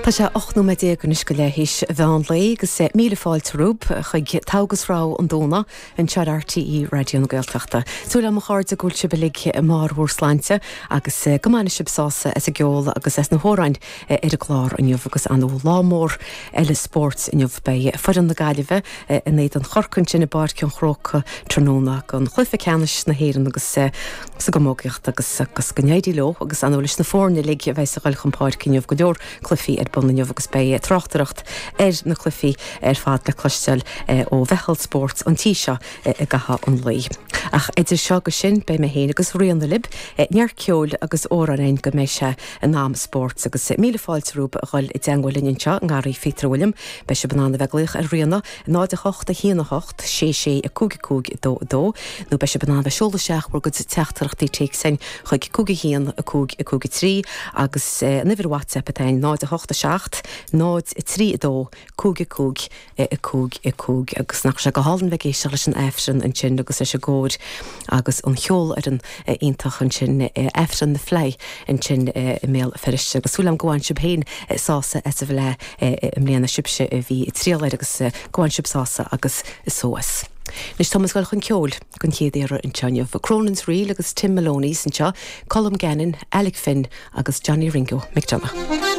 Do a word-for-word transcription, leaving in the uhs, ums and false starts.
Tá sé ocht nóiméad déag anois go leath théis mheán lae agus míle fáilte romhaibh chuig Togha agus Rogha an Domhnaigh anseo ar RTÉ Raidió na Gaeltachta. Súil agam a chairde go bhfuil sibh uilig i mbarr bhur sláinte agus go mbainfidh sibh sásamh as an gceol agus as na hamhráin ar an gclár inniu agus an lá mór eile spóirt inniu beidh foireann na Gaillimhe in éadan Chorcaí ansin i bPáirc an Chrócaigh tráthnóna don chluiche ceannais na hÉireann agus sa gcamógaíocht agus agus go n-éirí leo agus an leis na foirne uilig a bheidh ag dul chun páirce inniu go leor cluichí ar bun inniu agus beidh tráchtaireacht ar na cluichí ar fad le cloisteáil ó mheitheal spóirt an tí seo i gcaitheamh an lae. Ach idir seo agus sin beidh mé féin agus Ríona libh neart ceoil agus amhráin go mbeidh sé in am spóirt agus míle fáilte romhaibh a dhul i dteagmháil linn anseo i nGarraí Phíotair Bhilliam, beidh sibh in ann a bheith ag glaoch ar Ríona náid a hocht a haon a hocht sé sé a cúig cúig dó dó, nó beidh sibh in ann bheith seoladh isteach bhur gcuid teachtaireachtaí téacs chuig cúig a haon a cúig a cúig a trí agus an uimhir WhatsApp atá náid a hocht a seacht náid a trí a dó cúig a cúig a cúig a cúig agus nach sé go hálainn bheith ag éisteacht leis an Aifreann ansin agus leis an gcór agus an cheolfhoireann iontach ansin Aifreann na Fleidhe ansin i mBéal Feirste agus súil agam go bhain sibh féin sásamh as an bhFleadh i mbliana sibhse a bhí ag triall air agus go bhain sibh sásamh agus só as. Anois táimid ag dul chun ceoil den chéad iarraidh anseo inniu. Cronin's Reel agus Tim Maloney's anseo, Colm Gannon, Alec Finn agus Johnny Ringo McDonough.